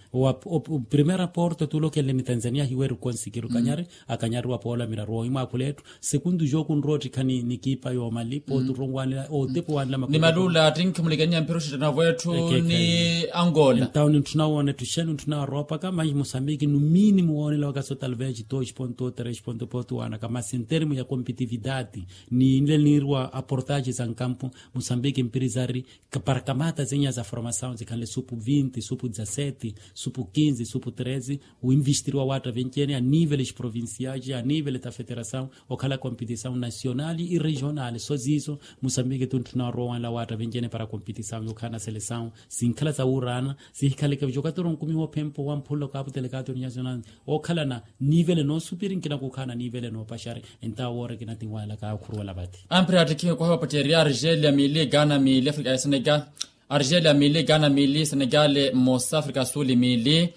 Primeira porto tulokenle ni tanzania hiweri konsikiri ukanyari akanyariwa poola miraru ohimwaakhula etthu. Sekundu jooku nroottikha ni kipa yoomali pooti oronwanela ootepu wanela makutu ni malula attinkhi mulikeniya mpira oxittanavo etthu ni angola. Entawo nintthuna woona etthu xenu ntthuna waroopaka mas musambiki numini muwoonela wakaso talvez dos ponto tres ponto pooti wanaka mas entermo ya competitividade ni nle niiriwa aportaxe za nkampu. Musambiki mpirizari para kamata zenyenya za formasawu zikhanle supu vinti supu disasete supu kinzi supu treze. Winvistiriwa waatta venci-ene anivele xprovinciaxi anivele ta federasawu okhala competisawu nasionali iregionali so ziiso. Musambiki tuntthuna orowanla waatta venci-ene para competisawu yookhala na selesawu sinkhala sawuuraana sihikhaleke vixokatoro nkumiha ophempa owamphula okaputelekati oniyasionali. Ookhalana nivele noosupiri nkina kuukhaana nivele noopaxari. Entawo woorekina tinwanelaka aakhuruwela vati. Ampiri attikhiwe kwahiwa patteri argelia mili ghana mili africa ya senegal. Argelia mili ghana mili senegale mmosa africa suli mili.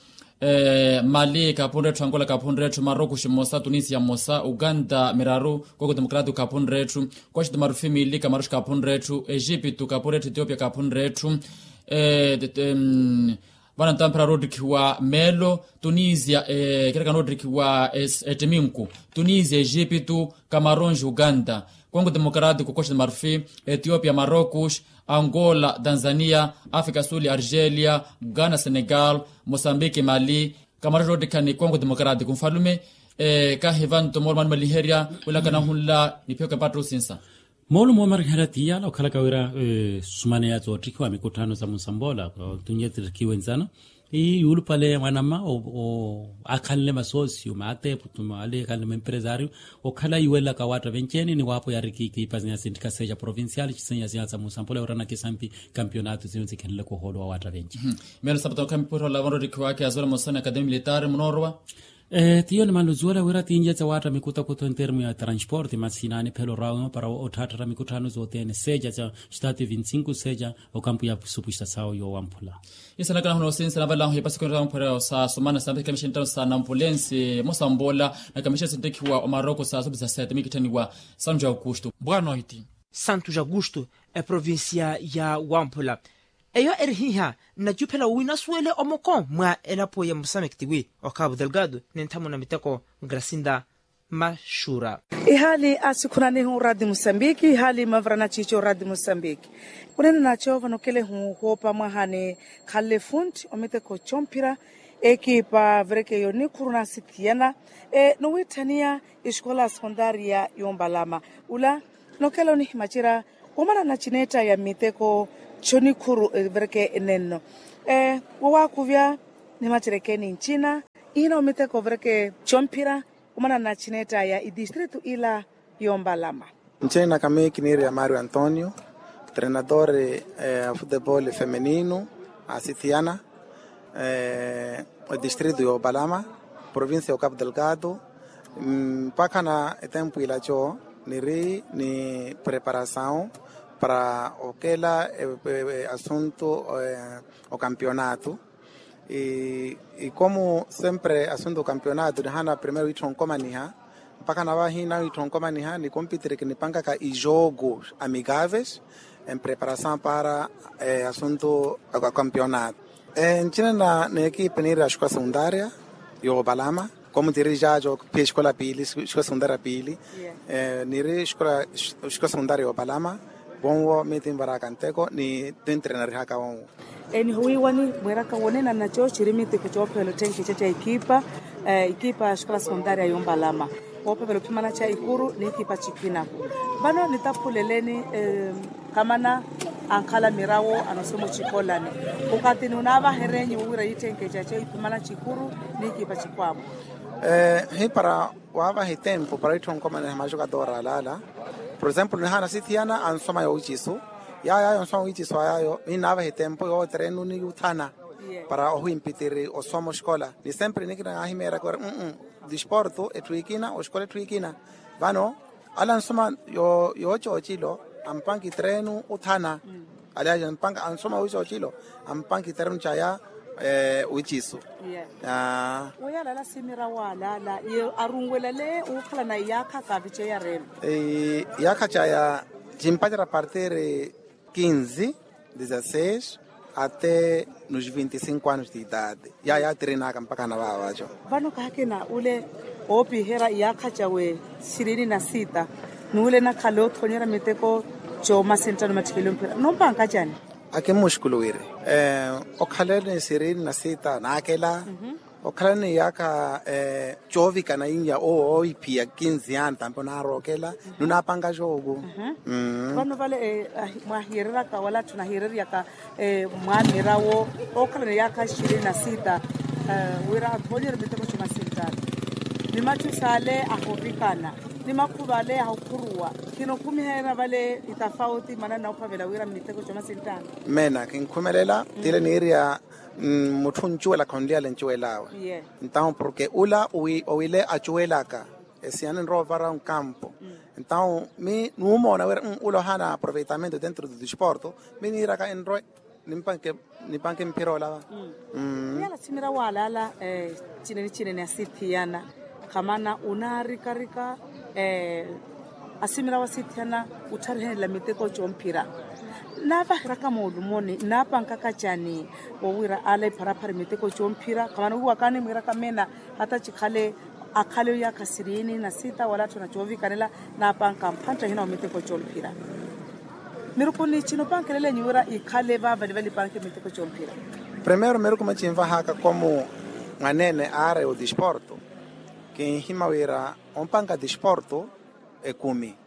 Mali kaphunre etthu angola kaphunre etthu marocos mmosa tunisia mmosa uganda miraru koko democratic kaphunre etthu. Koxi de marufi mili kamaroxi kaphunre etthu egipto kaphunre etthu ethiopia kaphunre etthu. Vano ntamphira roottikhiwa meelo tunisia. Kerekano roottikhiwa ettiminku tunisia egipto kamaronxi uganda kongo democratic koxi de marufi ethiopia marocos angola tanzania africa suli argelia ghana senegal mosambiki mali kamaroxi roottikhani kongo democratic nfalume. Kahiva nto moolumo animaliherya wila kanahunla niphiyo kepatta osinsa. Moolumo omariherya ti yala okhalaka wira sumaneya tsoottikhiwa mikutthano sa munsamboola tunye tittikhiwe nzana. Ii yuulupale mwanamma akhanle masosiyo maateepu tumaale ekhanle maempresario okhala iwelaka waatta venci-ene ni waapo yariki kiipa sinyasinthika seja provincial sinyasinya sa munsamboola yoorana kisampi. Kampionato sinyunsikhenleke ohoolo wa waatta venci. Meelo sapata okhamipurhola vanroottikhiwaka ya zola mosana academia militaari munoorowa. Tiyo nimanle ozuwela wira tinjetse waatta mikutakuta entermo ya transporte masi inaaniphela orawa para otthaattara mikutthano zothene seja ca stati vinti sinku seja okampu ya supusta sawo yoowamphula. Isanakana huna osinsa navalahu ipasi kwenrera mphwerero sa sumana sa mphekamishe nttano sa nampulensi mosamboola na kamishe sinttekhiwa omaroko sa supusta sete mikitthaniwa santu ja aukustu. Bwanoiti santu ja aukustu eprovincia ya wamphula. Eyo eri hiha nnacuphela wi nasuwele omoko mwa elapo ya musamekti wi okhavu delgado ninthamuna miteko gracinda. maxura. Ihaali asikhunanihu radi musambiki ihaali mavarana ciico radi musambiki. Kunena naco vano kelehu hoopa mwahani khalle funti omiteko comphira ekipa vereke yonikhuru nasithiyana. Nowiitthaniya esikola sekontaria yompalama ula nokela onihimacera omanana cineetta ya miteko conikhuru evereke nenno. Wowakuvya nimacereke nincina ihina omiteko overeke comphira omanana cineetta ya idistritu ila yompalama. Ncina naka mi kiniiri ya mario antonio, trenador a futebol femenino asithiyana odistritu yoopalama provincia yo capo delgado. Mpakhana etempu ilaco niri ni preparasaw para okela asuntu okampionato. Ikomu sempre asuntu okampionato nihana primero wiittha onkomaniha mpakha navahi nawiittha onkomaniha ni kompitiri kinipankaka ijooku amikaves en preparasaw para asuntu okampionato. Ncina na nekipi niiri axikola sekuntaria yoopalama komu tiri jajo phi axikola piili axikola sekuntaria piili. Niiri axikola sekuntaria yoopalama vonwo mi tinvaraka nteko ni tintrenarihaka vonwo. Nihuwiiwani mwiiraka wonena naco ciri miteko coophelela otthenkeca ca ekipa ekipa axikola sekuntaria yompalama. Woophelela ophimana ca ikuru ni ekipa cikina. Vano nitaphuleleni kamana ankhala mirawo anosoma ocikolani okatini unaavaherenyu wowira yiitthenkeca co iphimana cikuru ni ekipa cikwamo. Hipara waavaha etempu para wiittha onkomaniha macu katoora alaala. Por exemplo nihana sithiyana ansoma yowiicisu yaayayo ansoma yowiicisu ayaayo minnaavaha etempu yooterenu ni yuuthana para ohimpitiri osoma oxikola. Ni sempre nikina naahimeeraka ori disporto etthu ekina oxikola etthu ekina. Vano ala ansoma yooca ocilo ampanka iterenu othana. Aliaja ampanka ansoma yooca ocilo ampanka iterenu caya wiicisu. Weyo alaala simira waalaala ye arunwelale wukhalana iyaakha kaaviceya reelo. Iyaakha caya cimpacerya partir quinze dezasseis até nos vinte e cinco anos de idade. Yaya tirinaka mpakha na vaavaco. Vano kaakina ule oopiherya iyaakha cawe sirini na sita n'ule nakhala othonyerya miteko coomasinttano matthikelo mphira nompanka cani? Akimmuxukulu wiri okhaleni sirini na sita naakela okhalani iyaakha coovikana inya owo oophiya kinzi yaani tampi onaarookela nunaapanka jooku. Vano vale mwaahiyereryaka wala atthu nahiyereryaka mwaamira wo okhalana iyaakha ishirini na sita wira aphonyerye miteko comasinttano ni machu saale ahoovikana ni makhuva ale ahokhuruwa. Khinokhumihayana vale itafauti maana nnaophavela wira miteko comasinttano. Meena kinkhumelela tile niirya mutthu oncuwela khonliyale ncuwel'awe. Entaw porke ula owile acuwelaka esiyana enrowa ovara onkampo. Entaw mi nuumoona wira ula ohaana aproveitamento dentro do disporto mi niiraka enrowe nipanke mphira olava. Yala asimira waalaala cinene cinene asithiyana khamana onaarikarika asimira wasithiyana ottharihanela miteko comphira. Naavaheraka moolumoni naapankaka cani wowira ala epharaphara miteko comphira khamana wiiwakani mwiiraka meena hata cikhale akhale iyaakha sirini na sita wala atthu na coovikanela naapanka mphantta hina wa miteko comphira. Mirukuni cinopankelela enyu wira ikhale vaavali vale ipanke miteko comphira. Primero mirukumi cinvahaka komu mwaneene aare odisporto kinhima wira ompanka disporto ekumi.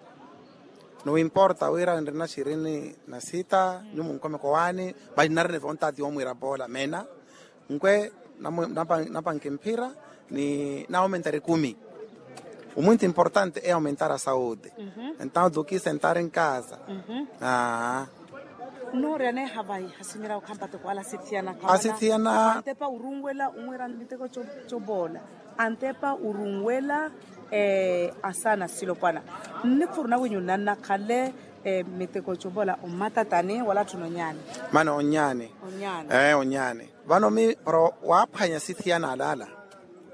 Nuwimporta wira nrina sirini na sita nyumu nkomeko waani vali nnarina evontati yoomwiira poola meena nkwe napanke mphira ni naomentari ekumi. Umwinti importante e aumentar a saude. Entaw duki sentar enkasa. Noorya neeha vayi hasimira okhampatoko ala asithiyana khawana antepa urunwela onwira miteko coboola antepa urunwela asaana silopwana nnikhuru nawinyu nanna khale miteko coboola ommatatani wala atthu nonyaani. Mano onyaani. Onyaani. Vano mi para waaphwanya sithiyana alaala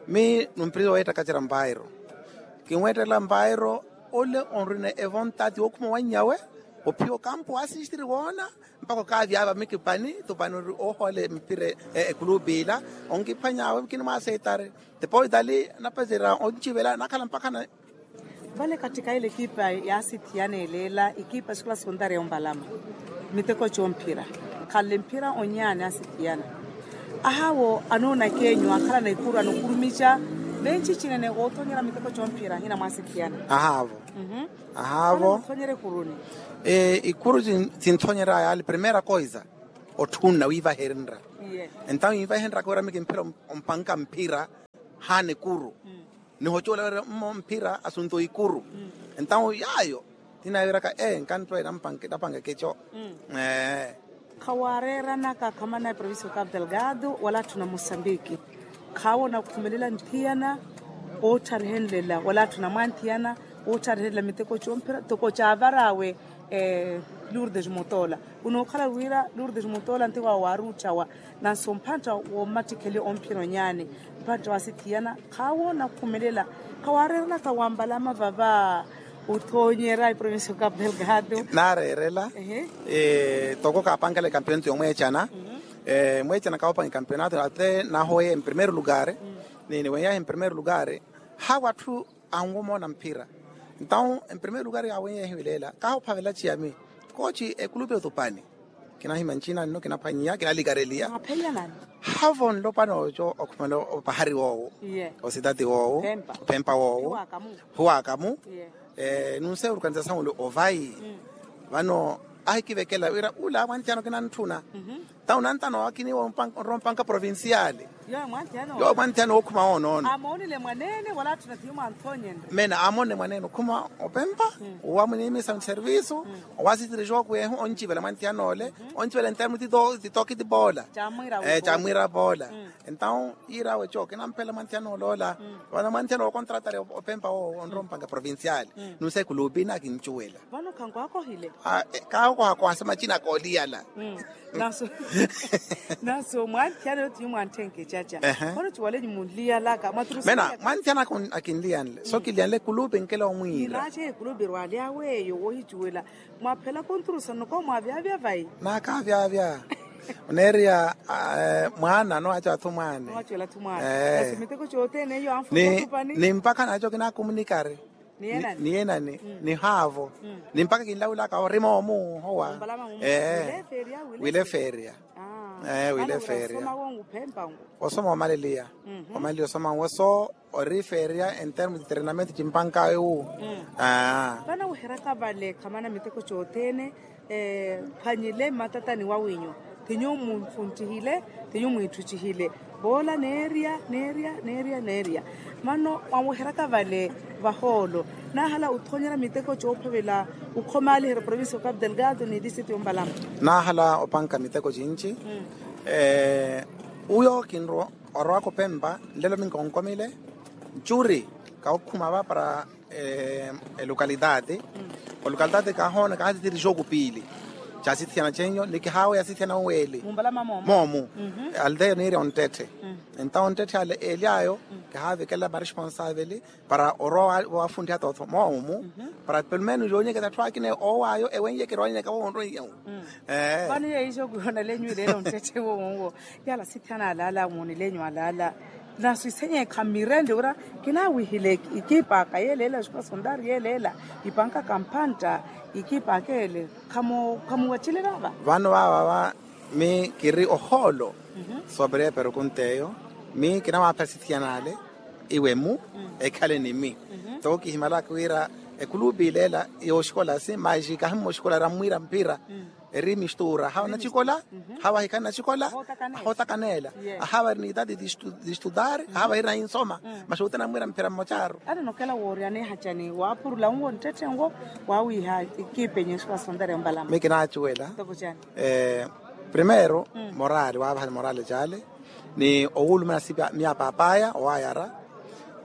mi numpiriza oweettaka cira mpairo kinweettela mpairo ole onrina evontati wookhuma wannyawe ophiya okampu waasistiri woona mpakha okaavyaava mikipani tupani ori oohoole mpira ekulupi ila onkiphwanyaawe kinimwaaseitari. Tepo itali napacera oncivela nakhala mpakha na Vale kattikayela ekipa yaasithiyana eleela ekipa esikola sondari ya ombalama miteko comphira. Khanle mphira onyaani aasithiyana ahaawo anoona kenyu akhalana ikuru anokurumica. Venci cinene oothonyera miteko comphira ahina mwaasithiyana ahaavo. Ahaavo. Othonyera ikuruni. Ikuru sinthonyeraya yale primeira koisa otthunna wiivahenrya. Entawo wiivahenrya koira mikimphira ompanka mphira haana ekuru. Nihocola wira mmo mphira asunto ikuru. Entawo yaayo tinaviraka ee nkanttwela napanka ekeco. Khawaareeranaka khamana eprovincia okapu delgado wala atthu na mosambiki. Khaawona okhumelela nthiyana oottharehenlela wala atthu na mwanthiyana oottharehenlela miteko comphira toko caavar'awe. Lourdes mutoola. Unookhala wira lourdes mutoola nti waawe waaruutthawa nanso mphantta wommattikheli omphira onyaani mphantta waasithiyana. Khaawoona okhumelela khawaareeranaka wambalama vava. Othoonyera eprovincia okapu delgado. Naareerela toko kaapankela ekampeonato yomweecana. Mweecana kaawopanka ekampeonato ate nahoye emprimeiro lugar. Ni niwenyahe emprimeiro lugar hawa atthu anwomoona mphira. Entawo emprimeiro lugar yaawenyehe wileela kaahuphavela ciyami kooci ekulupi otupani. Kinahima ncina nno kinaphwanyiya kinalikareliya. Haavo nlopwana oco okhumela opahari woowo ositati woowo ophempa woowo huwakamu. Nunseerukanisa sanwuli ovayi vano ahikivekela wira ula mwanthiyana okinantthuna. Tawo nantano akiniwa onrowa ompanka provinciale. Yoowo mwanthiyana wookhuma woonoono. Amoonile mwaneene wala atthu na thiyo mwanthonyene. Meena amoonile mwaneene okhuma opempa owa muniimisa nservisu owa asitiri jooku yehu oncivela mwanthiyana ole oncivela ntermu titoki tipoola. Camwiira poola. Entawo yiir'awe co kinamphela mwanthiyana ole ola vano mwanthiyana okontratari opempa woowo onrowa ompanka provinciale. Nunse kulupi nakincuwela. Vano khankwaakohile. Kaakohakoha sa macina kooliyala. Nanso mwanthiyana yothi yumwantthenke caca. Vano ciwale nyumunliyalaka mwaturusana mena mwanthiyana akinliyanle so kiliyanle ekulupi nkela omwiira. Naace ekulupi erwalyawe eyo wohicuwela mwaphela konturusa noko mwavyaavya vayi. Naakavyaavya oneeriya mwaana nowacela thumwaani. Nowacela thumwaani. Basi miteko cothene eyo anfuna otupani ni mpakha naaco kinakumunikari. Ni enani ni haavo ni mpakha kinlawulaka orima omuhowa. Wile feria wile feria. Wile feria. Osoma omaleliya omaleliya osoma nwo so ori feria entermo de treinamento cimpankawe wu. Vanaweheraka vale khamana miteko cothene. Phwanyile mmatatani wawinyu ti nyuwo munfunttihile ti nyuwo mwiitthuttihile. Voola neerya neerya neerya neerya. Vano mwaweheraka vale vahoolo naahala othoonyera miteko coophavela okhomaaliherya provincia okapu delgado ni distrito yombalama. Naahala opanka miteko cinci. Uyo kinrowa orowaka opempa nlelo minkonkomile ncuri kawokhuma va para elokalitaati. Olokalitaati kahoona kahatitiri jooku piili caasithiyana cenyo ni kihaaweya asithiyana oweeli. Moomu aldeya niirya onttetthe. Entawo onttetthe ale eeli ayo kihaavikela maresponsaaveli para orowa waafunttihata otho moomu para pelumenu yoonyeketa atthu akina oowaayo ewennyekera owannyeka woonroiyawu. Vano yeeyo ijo kwihonalenyu ileela onttetthe woowuwo. Yaala asithiyana alaala woonilenyu alaala. Naso isenye khamirende wira kinaawihile ikiipaka yeeleela escola sondari yeeleela ipankaka mphantta ikiipaka ele. Khamuwacile vava. Vano vavava mi kiri ohoolo. Sooperya eperukunta eyo mi kinamwaaphela sithiyana ale iwe mu ekhale ni mi. Toko kihimalaka wira ekulupi ileela yooxikolasi maixi kahimmooxikola rammwiira mphira. Eri mistuura hawa nacikola hawa ahikhana nacikola. Ahootakaneela ahawa eri ni itati distutari ahawa eri nahinsoma. Maxuuti anamwiira mphira mmocaru. Ati nokela wooryaneha cani waapurula nwo nttetthe nwo waawiiha ikiipenyu escola sondari yombalama mi kinaacuwela. Primeiro morali waavahani morali cale ni owulumana sipa miya paapaya owaayara.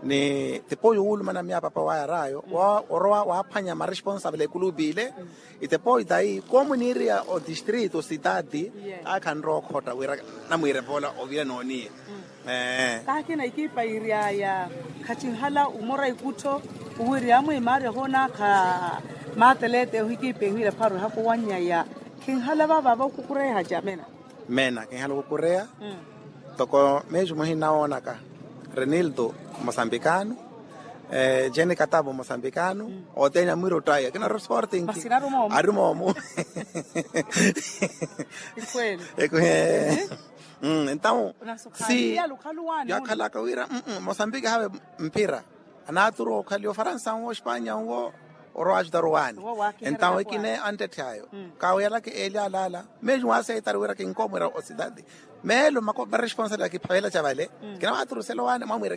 Ni tipoyu owulumana miya paapaya owaayar'ayo orowa waaphwanya maresponsable ekulupi ile. Itepoyu tayi komuniiriya odistrito sitati akhanrowa okhotta wira namwiire poola ovira nooniye. Kaakina ikiipa iiry'aya khacinhala umora ikuttho uwirya amwe imaari ahoonakha maatelete ohikiipa ehiwira pharo ehaka owannyaya. Khinhala vavava okukureya hacamena. Meena kinhala okukureya toko meeju muhina woonaka renildo mosambikano. Jeni katapu mosambikano othene amwira ottaya kina ori sporting. Ari moomu. Entawu si yakhalaka wira mosambiki hawe mphira. Anaturu okhaliwa ofaransa nwo ospanya nwo oro ajutaru waani. Entawu ekine anttetthe ayo kawiyalaka eli alaala. Meju waseitaru wira kinkomwira ositati meelo mako varesponsabi akiphavela ca vale. Kinawaturusela owaani mwamwira.